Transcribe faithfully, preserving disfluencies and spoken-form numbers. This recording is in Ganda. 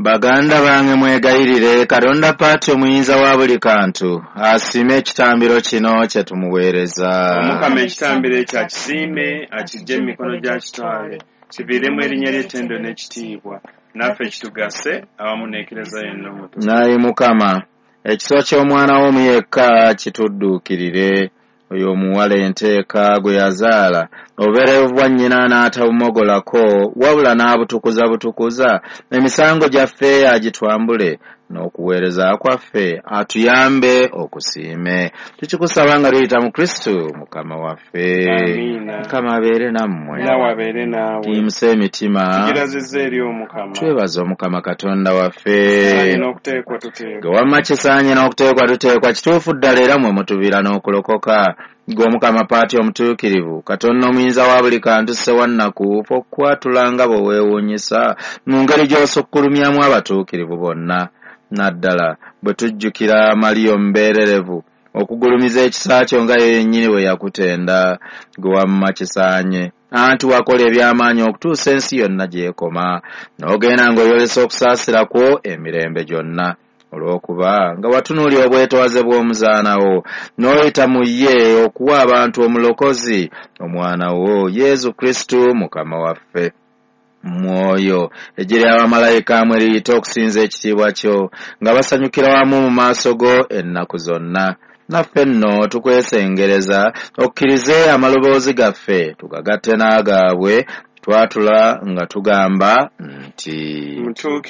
Baganda bange mwegayirire Katonda Paati omuyinza wa buli kantu asiime ekitambiro kino kye tumuweereza. Omukama ekitambiro ekyo akisiime, akiggye mu mikono gya kitwale, kiviiremu erinnya ly'ettendo n'ekitiibwa, naffe kitugase awamu n'Eklezia yonna omutukuvu. Naye Mukama, ekisa ky'omwana wo omu yekka kitudduukirire. Oyo omuwala enteeka gwe yazaala obubeerevu bwa nnyina n'atabumogolako, wabula n'abutukuza butukuza, emisango gyaffe agitwambule, n'okuweereza kwaffe atuyambe okusiime. Tukikusaba nga tuyita mu Kristo Mukama waffe. Amiina. Mukama abeere nammwe. Naawe abeere naawe. Tuyimuse emitima. Tugirazizza eri Omukama. Twebaze Omukama Katonda waffe. Kisaanye n'okuteekwa tuteekwa. Gwe wamma kisaanye n'okuteekwa tuteekwa, kituufu ddala era mwe mutuviira n'okulokoka. Gwe Omukama Paati omutuukirivu, Katonda omuyinza wa buli kantu ssewannaku, fe okukwatula nga bwe weewuunyisa mu ngeri gy'osukkulumyamu abatuukirivu bonna. Naddala bwe tujjukira Mariya omubeererevu, okugulumiza ekisa kyo nga ye yennyini bwe yakutenda. Gwe wamma kisaanye, anti wakola eby'amaanyi okutuusa ensi yonna gy'ekoma, n'ogenda ng'oyolesa okusaasira kwo emirembe gyonna. Olw'okuba nga watunuulira obwetoowaze bw'omuzaana wo, n'oyita mu ye okuwa abantu omulokozi, omwana wo Yesu Kristo Mukama waffe. Mwoyo eggye ly'abamalayika mwe liyita okusinza ekitiibwa kyo, nga basanyukira wamu mu maaso go ennaku zonna. Naffe nno tukwesengereza okkirize amaloboozi gaffe tugagatte n'agaabwe, twatula nga tugamba nti Mutuukirivu.